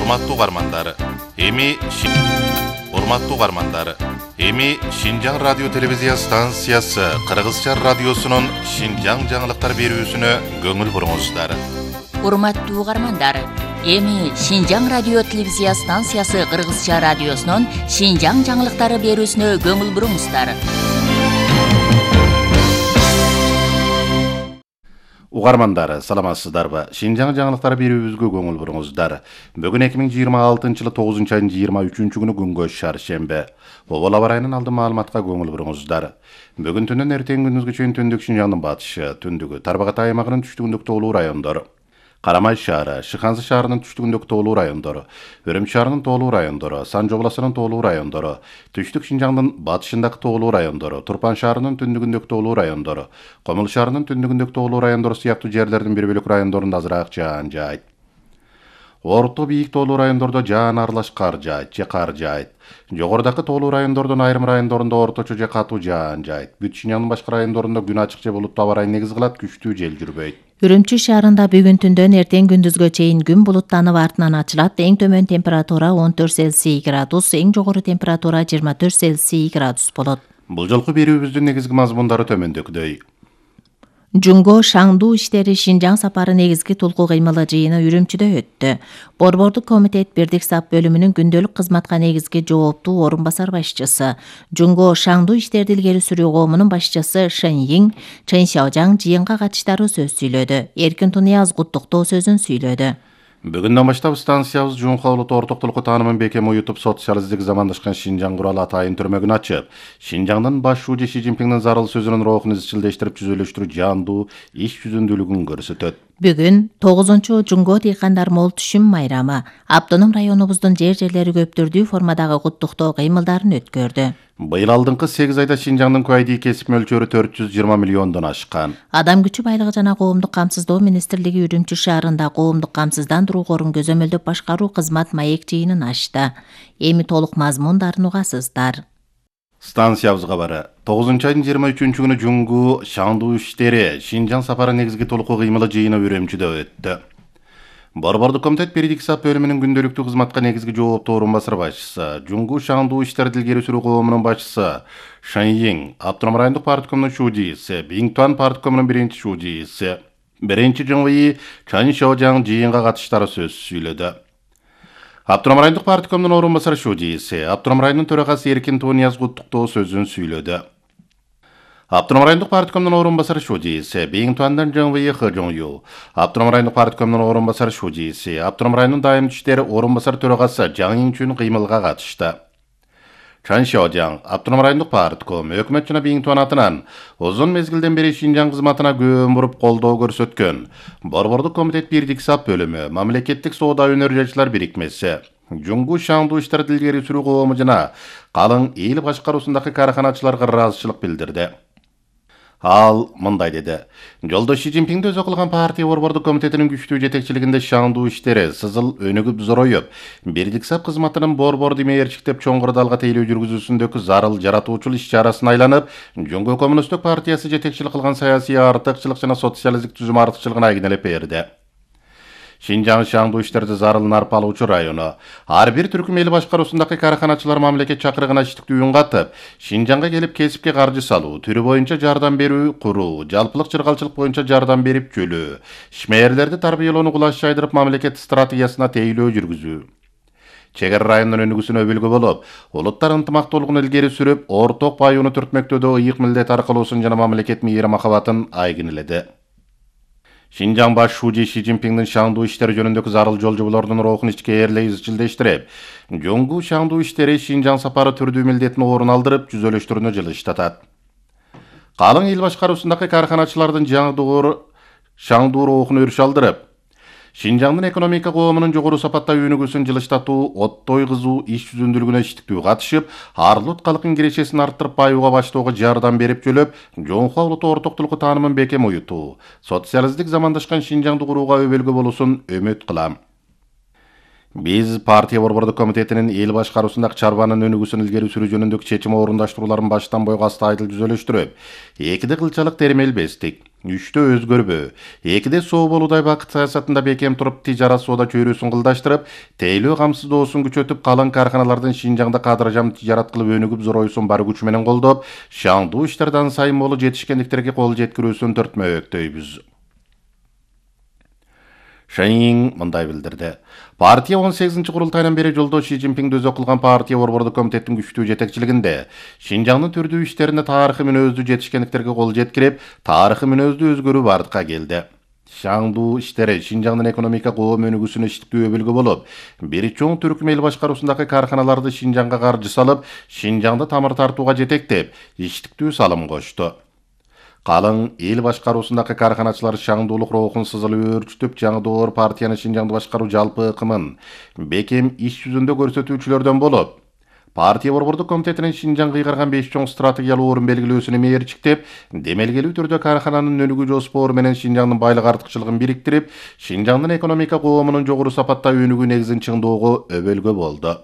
Урматтуу угармандар, эми Шинжаң радио телевизия станциясы Кыргызча радиосунун Шинжаң жаңылыктар берүүсүнө көңүл буруңуздар. Урматтуу угармандар, эми Шинжаң радио телевизия станциясы Кыргызча радиосунун Шинжаң жаңылыктары берүүсүнө көңүл буруңуздар. Угармандар, саламатсыздарбы? Шинжаң жаңылыктары берүүбүзгө көңүл буруңуздар. Бүгүн 2026-жылы 9-айдын 23-күнү күнгө шаршембе. Обол аба ырайынын алдын маалыматка көңүл буруңуздар. Бүгүн түнүн эртең күндүзгө чейин түндүк Шинжаңдын батышы, түндүгү Тарбагатай аймагынын түштүгүндөгү тоолуу райондор, Карамай шаары, Шыхансы шаарынын түштүгүндөгү тоолуу райондору, Өрөмчү шаарынын тоолуу райондору, Санжы областынын тоолуу райондору, Түштүк Шинжаңдын батышындагы тоолуу райондору, Турпан шаарынын түндүгүндөгү тоолуу райондору, Комул шаарынын түндүгүндөгү тоолуу райондору сыяктуу жерлердин бир бөлүк райондорунда азыраак жаан жаайт. Орто бийик тоолуу райондордо жаан аралаш кар жаайт же кар жаайт. Жогорудагы тоолуу райондордун айрым райондорунда орточо же катуу жаан жаайт. Бүт Шинжаңдын башка райондорунда күн ачык же булуттуу аба ырайын негиз кылат, күчтүү жел жүрбөйт. Үрүмчү шаарында бүгүн түндөн эртең күндүзгө чейин күн булуттанып артынан ачылат. Эң төмөн температура 14 Цельсий градус, эң жогору температура 24 Цельсий градус болот. Бул жолку берүүбүздүн негизги мазмундары төмөндөгүдөй. Жунго Шаңдуу иштери Шинжаң сапары негизги тулкуу кыймылы жыйыны Үрүмчүдө өттү. Борбордук комитет Бирдик САП бөлүмүнүн күндөлүк кызматка негизги жооптуу орун басар башчысы, Жунго Шаңдуу иштерди илгери сүрүү коомунун башчысы Шэн Йиң, Чэн Сяожаң жыйынга катыштары сөз сүйлөдү. Эркин Тунияз куттуктоо сөзүн сүйлөдү. Бүгүндөн баштап станциябыз Жунха улут ортоктулукку таанымын бекем уютуп, социалисттик замандашкан Шинжаң куралы атайын түрмөгүн ачып, Шинжаңдын баш шууju Ши Цзиньпиңдин зарыл сөзүнүн рухун изчилдештирип жүзөлөштүрүү жаандуу иш жүзүндүүлүгүн көрсөтөт. Бүгүн 9 Жунго дыйкандар мол түшүм майрамы автоном районубуздун жерлери көптүрдүү формадагы куттуктоо кыймылдарын өткөрдү. Быйыл алдыңкы 8 айда Шинжаңдын куайдий кесип мөлчөрү 420 миллиондон ашкан. Адам күчү байлыгы жана коомдук камсыздоо министрлиги Үрүмчү шаарында коомдук камсыздандыруу корун көзөмөлдөп башкаруу кызмат маек жыйынын ачты. Эми толук мазмундарын угасыздар. Станциябыз кабары 9-айдын 23-күнү Жунгу Шаңдуу иштери Шинжаң сапары негизги толуку кыймылы жыйыны Үрүмчүдө өттү. Борбордук комитет Бирдик САП бөлүмүнүн күндөлүктүү кызматка негизги жооптуу орун басар башчысы, Жунгу Шаңдуу иштерди илгери сүрүү коомунун башчысы Шэн Йиң, Автоном райондук парткомунун шуудийси, Биңтуан парткомунун биринчи шуудийси, биринчи ЖМВИ Чэн Сяожаң жыйынга катыштары сөз сүйлөдү. Автоном райондук парткомунун орун басар шуудийси, Автоном районунун төрагасы Эркин Тунияз куттуктоо сөзүн сүйлөдү. Автоном райондук парткомунун орун басар шуудийси, Биңтуандан ЖМВИ Хы Жоңю, Автоном райондук парткомунун орун басар шуудийси, Автоном районунун дайым иштери орун басар төрагасы Жаң Инчүн кыймылга катышты. Чэн Сяожаң, Автоном райондук партком, өкмөт жана Биңтуан атынан узун мезгилден бери Шинжаң кызматына көөн буруп колдоо көрсөткөн Борбордук комитет Бирдик САП бөлүмү, Мамлекеттик соода өнөр жашчылар бирикмеси, Жунгу Шаңдуу иштерди илгери сүрүү коому жана калың эл башкаруусундагы караханачыларга ыраазычылык билдирди. Ал мындай деди. Жолдо Ши Цзиньпиңди өзү кылган партия борбордук комитетинин күчтүү жетекчилигинде Шаңдуу иштери сызыл өнүгүп зороюп, Бирдик САП кызматынын борбор демейерчиктеп чоңгур далга тейлөө жүргүзүүсүндөгү зарыл жаратуучул иш-чарасын айланып, Жунгу коммунисттик партиясы жетекчилик кылган саясий артыкчылык жана социалисттик түзүм артыкчылыгын айгинелеп берди. Шинжаң Шаңдуу иштерди зарылын арпалуучу району. Ар бир түркүм эл башкаруусундагы караханачылар мамлекет чакырыгына иштиктүү үн катып, Шинжаңга келип кесипке каржы салуу, түрү боюнча жардам берүү куруу, жалпылык чыргалчылык боюнча жардам берип жөлөө, ишмээрлерди тарбиялоону кулаш жайдырып мамлекет стратегиясына тейлөө жүргүзүү. Чегер районунун өнүгүүсүнө өбүлгү болуп, улуттар ынтымактуулугун илгери сүрүп, орток баюуну түртмөктөөдө ыйык милдет аркылуусун жана мамлекет мейир махабатын айгинеледи. Шинжаң баш шууju Ши Цзиньпиңдин Шаңдуу иштери жөнүндөгү зарыл жолжоболордун рухун ичкээрлей изчилдештирип, Жунгу Шаңдуу иштери Шинжаң сапары түрдүү милдетин орун алдырып, жүзөлөштүрүүнү жылыштатат. Калың эл башкаруусундагы караханачылардын Шаңдуу рухун өрүш алдырып, Шинжаңдын экономика коомунун жогору сапатта өнүгүүсүн жылыштатуу, оттой кызуу иш жүзүндүүлүгүнө иштиктүү катышып, арлут калктын кирешесин арттырып баюуга баштоого жардам берип жөлөп, Жонхо улуттуу ортоктулукку таанымын бекем уютуу, социалисттик замандашкан Шинжаңды курууга өбөлгү болуусун үмүт кылам. Биз партия борбордук комитетинин эл башкаруусундагы чарбанын өнүгүүсүн илгери сүрүү жөнүндөгү чечим орундаштырууларын баштан бойго астайдыл жүзөлөштүрүп, экиде кылчалык термелбестик, 3-тө өзгөрбө. 2-де соо болуудай бакыт саясатында бекем туруп тижарат соода чөйрөсүн кылдаштырып, тейлөө камсыздоосун күчөтүп, калың карханалардын Шинжаңда кадыржам тижарат кылып өнүгүп зоройсун бар күч менен колдоп, шаңдуу иштерден сайын болу жетишкендиктерге кол жеткирүүсүн төртмөктөйбүз. Шайин мындай билдирди. Партия 18-курултайынан бери жолдош Ши Цзиньпин өзү кылган партия борбордук комитеттин күчтүү жетекчилигинде Шинжаңдын түрдүү иштерине тарыхый мүнөздүү жетишкендиктерге кол жеткирип, тарыхый мүнөздүү өзгөрүү бардыкка келди. Шаңдуу иштери Шинжаңдын экономика коом өнүгүүсүнө иштиктүү өбөлгө болуп, бир чоң түркүм эл башкаруусундагы карханаларды Шинжаңга каржы салып, Шинжаңды тамыр тартууга жетектеп, иштиктүү салым кошту. Калың эл башкаруусундагы карханачылар шаңдуулук рухун сызылып өөрчүтүп, жаңы доор партияны Шинжаңды башкаруу жалпы ыкымын бекем иш жүзүндө көрсөтүүчүлөрдөн болуп, партия борбордук комитетинин Шинжаңга кыйгарган 5 чоң стратегиялык орун белгилөөсүнө мээрчиктеп, демелгелүү түрдө кархананын өнүгүү жоспору менен Шинжаңдын байлык артыкчылыгын бириктирип, Шинжаңдын экономика коомунун жогору сапатта өнүгүү негизин чыңдоого өбөлгө болду.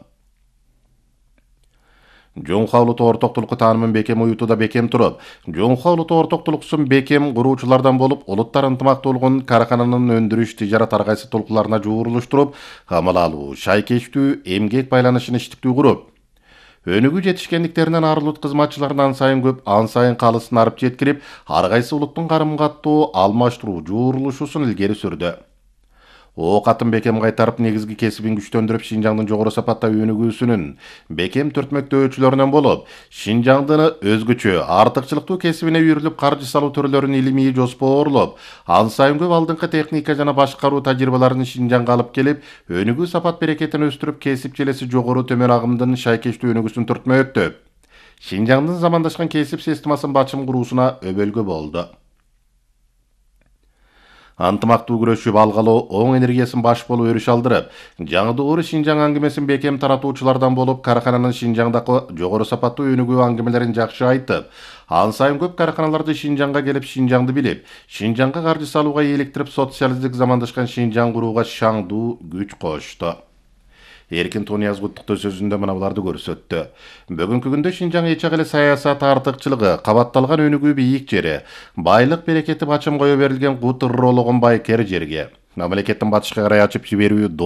Жоңхо улуттуу ортоктулукку таанымын бекем уютууда бекем туруп, Жоңхо улуттуу ортоктулуксун бекем куруучулардан болуп, улуттар ынтымактуулугун кархананын өндүрүш, тижарат ар кайсы толкуларына жуурулуштуруп, камыл алуу, шайкечтүү, эмгек байланышын иштиктүү куруп, өнүгүү жетишкендиктеринен арылут кызматчыларын ан сайын көп, ан сайын калысын арып жеткирип, ар кайсы улуттун карым-каттуу, алмаштыруу, жуурулушусун илгери сүрдү. О катын бекем кайтарып, негизги кесибин күчтөндүрүп, Шинжаңдын жогору сапатта өнүгүүсүнүн бекем түртмөктөөчүлөрүнөн болуп, Шинжаңдын өзгөчө, артыкчылыктуу кесибине үйрүлүп, каржы салуу төрлөрүн илимий жоспоорлоп, ан сайын көп алдыңкы техника жана башкаруу тажрыйбаларын Шинжаңга алып келип, өнүгүү сапат берекетин өстүрүп, кесип желеси жогору төмөн агымдын шайкечтүү өнүгүүсүн түртмөктөп, Шинжаңдын замандашкан кесип системасын бачым куруусуна өбөлгө болду. Антымактуу күрөшүп алгалоо, оң энергиясын баш болуп өрүш алдырып, жаңы доор Шинжаң аңгемесин бекем таратуучулардан болуп, кархананын Шинжаңдагы жогору сапаттуу өнүгүү аңгемелерин жакшы айтып, ан сайын көп карханаларды Шинжаңга келип, Шинжаңды билип, Шинжаңга каржы салууга eelиктирип, социалисттик замандашкан Шинжаң курууга шаңдуу күч кошту. Эркин Тониязов куттуктоо сөзүндө мына буларды көрсөттү. Бүгүнкү күндө Шинжаң эчак эле саясат артыкчылыгы, кабатталган өнүгүү бийик жери, байлык берекети бачым кое берилген кут ыррологон байкер жерге, мамлекеттин батышка карай ачып жиберүү